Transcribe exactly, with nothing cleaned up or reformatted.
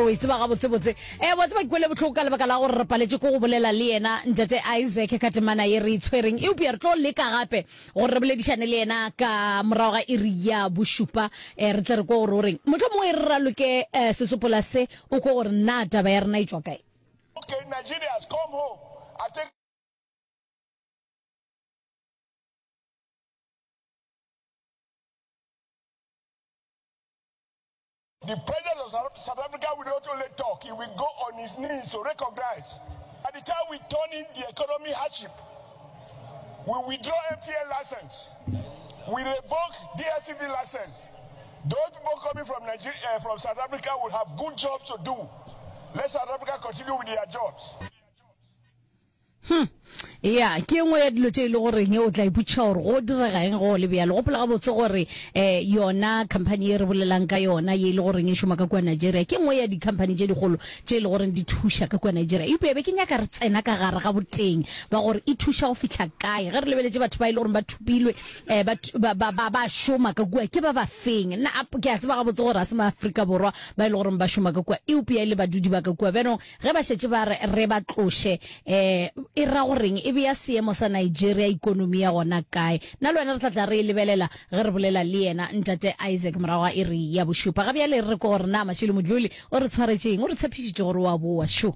O e tseba gabotsebotse. E, wa tseba ke kwele bohloko ka lebaka la gore re paletše ke go bolela le yena Ntate Isaac ka temana ye re e tshwereng. Eupša re tlo leka gape gore re boledišane le yena ka morago ga iri ya bošupa, e, re tle re kwe gore o reng. Mohlomongwe e re raloke e, setsopola se, o kwe gore na taba ya rena e tšwa kae. Okay, Nigerians, come home. I think The president of South Africa will not only talk, he will go on his knees to recognize. At the time we turn in the economy hardship, we withdraw M T N license, we revoke D S T V license. Those people coming from Nigeria, uh, from South Africa will have good jobs to do. Let South Africa continue with their jobs. Hmm. Ya, ke e nngwe ya dilo tše e le goreng o tla ipotšiša gore go direga eng go le bjalo. Gopola gabotse gore um yona company ye re bolelang ka yona ye e le goreng e šoma ka kua Nigeria ke nngwe ya di-company tše dikgolo tše e le goreng di thuša ka kua Nigeria. Eupša be ke nyaka re tsena ka gare ga boteng ba gore e thuša go fihla kae. Ge re lebeletše batho ba e le goreng ba thopilwe um ba, ba, ba, ba, ba šoma ka kua ke ba ba feng. Nna ke a tseba gabotse gore ga se Maafrika Borwa ba e le goreng ba šoma ka kua, eupša e le badudi ba ka kua. Bjanong ge ba šetše ba re re ba tloše um e ra goreng e bea seemo sa Nigeria ikonomi ya gona kae? Nna le wena re tla tla re e lebelela ge re bolela le yena Ntate Isaac morago ga iri ya bošupa. Ga bjale re re ke gore na Mashilo Modluli o re tshwaretše eng? O re tshepišitše gore o a boa. Šo.